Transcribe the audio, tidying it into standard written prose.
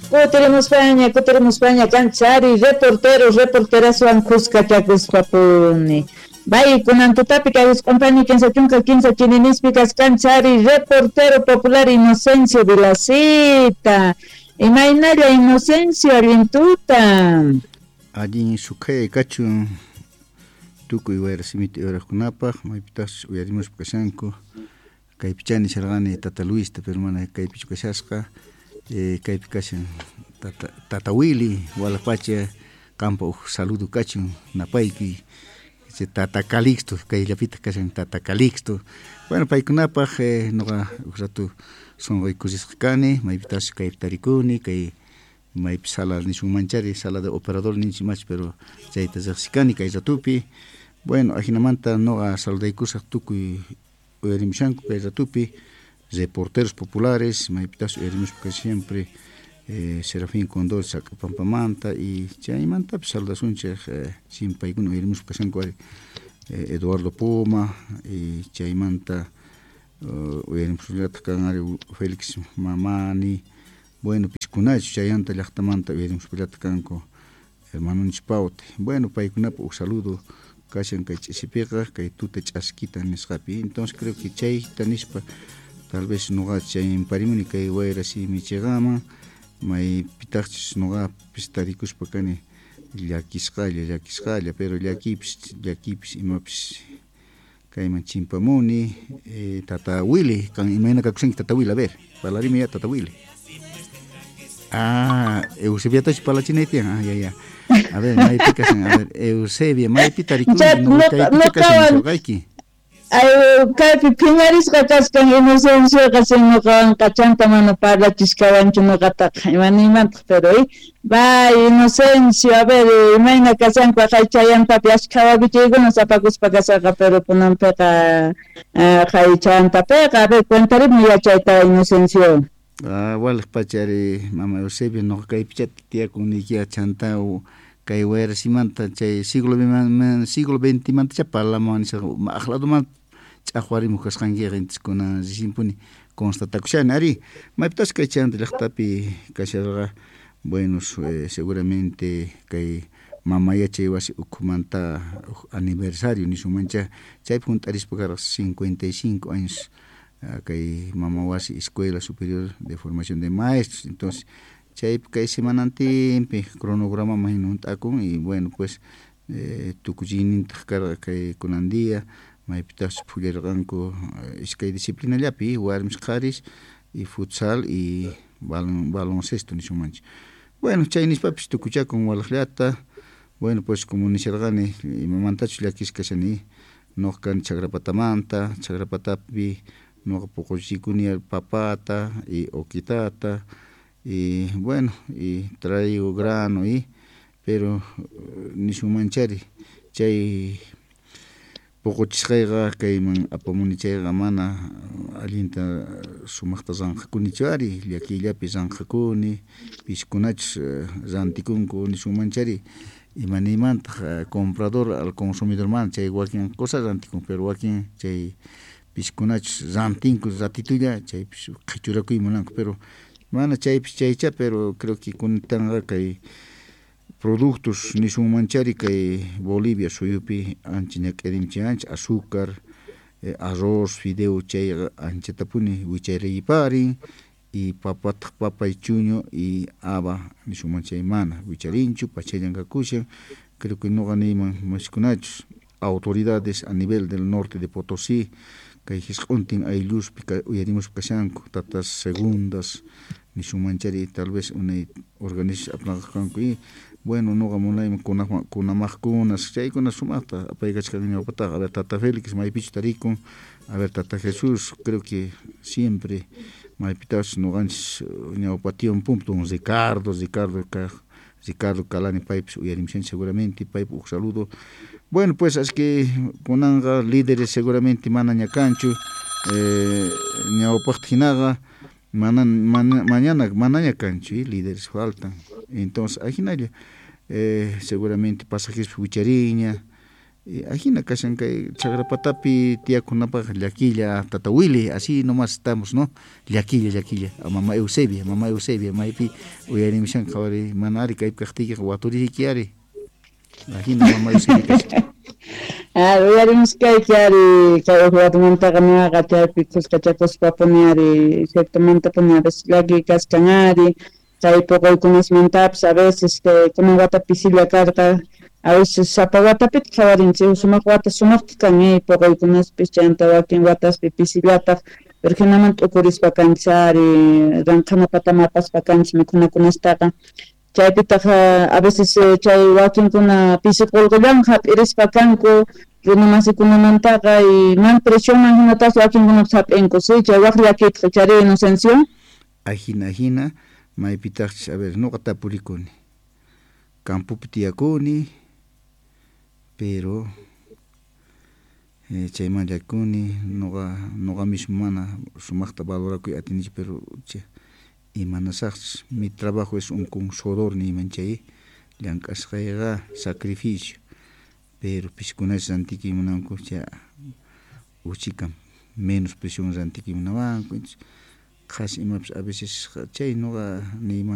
Kutirimuspaña, kutirimuspaña kanchari reportero, reporteraswan kuskachakuspapuni. Bay, kunan tutapi kay wisq'unpani 33 chininispi kaskanchari reportero popular Inocencio Vilacita. Imaynalla Inocencio, allin tuta. Allin sukhay kachun tukuy wayra simita uyaraqkunapaq, maypitaqchus uyarimuspa kashanku. Kaypichá nisharqani tata Luista, pero mana kaypichu kashasqa. Kaypi kashan tata, tata Willy, Walapacha, qampa huk saludo kachun, napaykuy. Tata Calixto, kayllapitaq kashan tata Calixto. Bueno, paykunapaq nuqa huk rato sunquy kusisqa kani, maypitaqchus kaypi tarikuni, kay maypi sala nisunmanchari, sala de operador ninchik machu, pero chayta riqsikani kay ratupi. Bueno, ajinamanta nuqa saludaykusaq tukuy uyarimushanku kay ratupi, reporteros populares, maypitaqchus uyarimuspa siempre Serafín Condor Sacpampamanta y chaymantapis saludasunchik siempre paykuna uyarimuspa kashanku ari Eduardo Poma y chaymanta uyarimusqallataq kan ari Félix Mamani, bueno, piskunachu chayanta llaqtamanta uyarimuspallataq kanku hermanonchis Paute. Bueno, paykunapa huk saludo kashan kay ch'isipiqa, kay tuta ch'askita nisqapi. Entonces creo que chayta nispa tal vez nuqa chaymparimuni kay wayra simi chiqaman, maypitaqchus nuqapis tarikuspa kani llakisqalla, llakisqalla, pero llakiypis, llakiypis imapis kayman chimpamuni. Tata Willy, kan imayna kakushanki tata Willy, a ver, parlarimi ya tata Willy. Ah, Eusebiatachu parlachinay tiyan, ah, ya, ya. A ver, maypi kashan, a ver, Eusebia, maypi tarikunki, nuqa kaypicha kashan nisqayki. Ay, kaypi phiñarisqa kachkan Inocencioqa, si ñuqawanqa chanta mana parlachishkawanchu ñuqataqa, ima niymantaq, pero bay Inocencio, a ver, imayna kashanku haqay chayantapi ashkha wakichiykuna sapakuspa kashaqa, pero kunanpiqa haqay chayantapiqa, a ver, cuentarimi yachayta Inocencio. Ah, waliq pachari mama Eusebia, ñuqa kaypichata tiyakun niykiqa chanta kay wayrasimanta chay siglo siglo veintimantacha parlamuwan nishaqa maqladuman ch'aqwarimuq kasqankiqa, entonces kunan recienpuni constatakushani ari maypitas kay chayanta llaqtapi kasharqa. Bueno, seguramente kay mama yachay wasi ukhumanta huk aniversario nisunmancha, chaypi hunt'arispa karqa 55 años kay mama wasi Escuela Superior de Formación de Maestros. Entonces chaypi kay semanantinpi cronogramaman hina hunt'akun y bueno, pues tukuchiynintaq karqa kay kunan día, maypitaqchus phullarqanku iskay disciplinallapi warmis qharis y futsal y baloncesto nisunmanchik. Bueno, chay nispapis tukuchakun walaqllata. Bueno, pues como nisharqani, imamantachus llakisqa kashani, nuqa kani Chakrapatamanta, Chakrapatapi nuqa puquchikuni papata y oquitata y bueno, y traigo grano y pero nisunmanchari chay puquchisqayqa kayman apamuni chayqa mana allinta sumaqta ranqakunichu ari, llakiyllapi ranqakuni, piskunachus rantikunku nisunmanchari, ima niymantaq comprador al consumidorman chay wakin cosa rantikun, pero wakin chay piskunachus rantinku ratitulla chaypis qhichurakuy munanku, pero mana chaypis chaycha, pero creo que kunanqa kay productos nisunmanchari kay Bolivia suyupi ancha ñak'arinchik ancha azúcar, arroz, fideo chayqa anchatapuni wichariyparin y papataq papa y chuño y haba nisunman chay mana wicharinchu, pachallan kakushan. Creo que nuqa niyman maskunachus autoridades a nivel del norte de Potosí kay hisq'untin aylluspi uyarimuspa kashanku tatas segundas nisunmanchari, tal vez unay organizaciones apnaqanku y bueno, nuqa munayman kunamaqkunas chaykuna sumaqta apaykachkan ñawpataqa. A ver, tata Félix maypichu tarikun, a ver, tata Jesús, creo que siempre maypitaqchus ñuqanchis ñawpa tiempo don Ricardo, Ricardo kaq Ricardo Calani paypis uyarimushanchik seguramente, paypa huk saludo. Bueno, pues es que kunanqa líderes seguramente manaña kanchu ñawpaqta hinaqa, mana, mana, mañana manaña kanchu líderes faltan. Entonces ajinalla seguramente pasajes wichariña. Ajina kashan kay Chakrapatapi tiyakunapaq llakilla tata Willy, así nomás estamos, ¿no? Llakilla, llakilla. Mama Eusebia, mama Eusebia, maypi uyarimushan qhawari, mana ari kaypi kaqtiykiqa waturiyki ari. Ajina mama Eusebia kashan. Ah, uyarimuskayki ari kay uqwarmantaqa ñuqaqa chaypi kuskachakuspapuni ari ciertomantapuni a veces llaki kaskan ari chay puquykunasmantapas a veces kunan wata pisilla karqa, a veces sapa watapitaq qhawarinchik sumaq wata sumaqta kan puquykunaspis chayanta wakin wataspi pisillataq, pero hinamanta t'ukurispa kanchis ari ranqhana pataman apaspa kanchis mikhunakunastaqa chaypitaq a veces chay wakinkuna pisi qullqillawan hap'irispa kanku runamasikunamantaqa y mana presioman hinataq wakinkunapas hap'inku, sí, chay waq llakiytaq chari Inocencio. Ajina ajina maypitaqchis, a ver, nuqa tapurikuni campopi tiyakuni, pero chayman llakikuni nuqa mismo mana sumaqta valorakuy atinichu, pero imanasaqchis, mi trabajo es un con sudor niyman chay llank'asqayqa sacrificio, pero piskunachis rantikuy munanku chay uchika menos precio rantikuymunawanku, qhasi imapas a veces chay nuqa niyman.